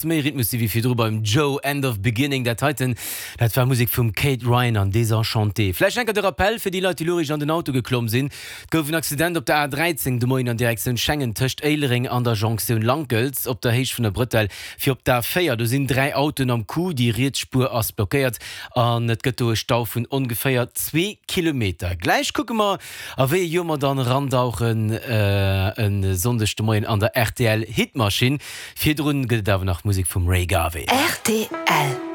Méi Rhythmus si wéi virdru beim Joe, End of Beginning. Dat heiten, dat war Musek vum Kate Ryan an Désenchanté. Vläicht enker de Rappell fir déi Leit, déi lo eréischt an den Auto geklomm sinn, Et gouf en Accident op der A 13 de Moien an Direktioun Schengen tëscht Éilereng an der Jonktioun Lankels op der Héicht vun der Brëtell fir op d'A 4. Do sinn 3 Autoen am Coup, déi riets Spuer ass blockéiert an et gëtt do e Stau vun ongeféier zwee Kilometer. Gläich kucke mer A wéi e Joer mer dann erandauchen e Sonndeg de Moien an der rtl Hitmaschinn. Virdrun gëtt et awer nach Musek vum Ray Garvey. Rtl.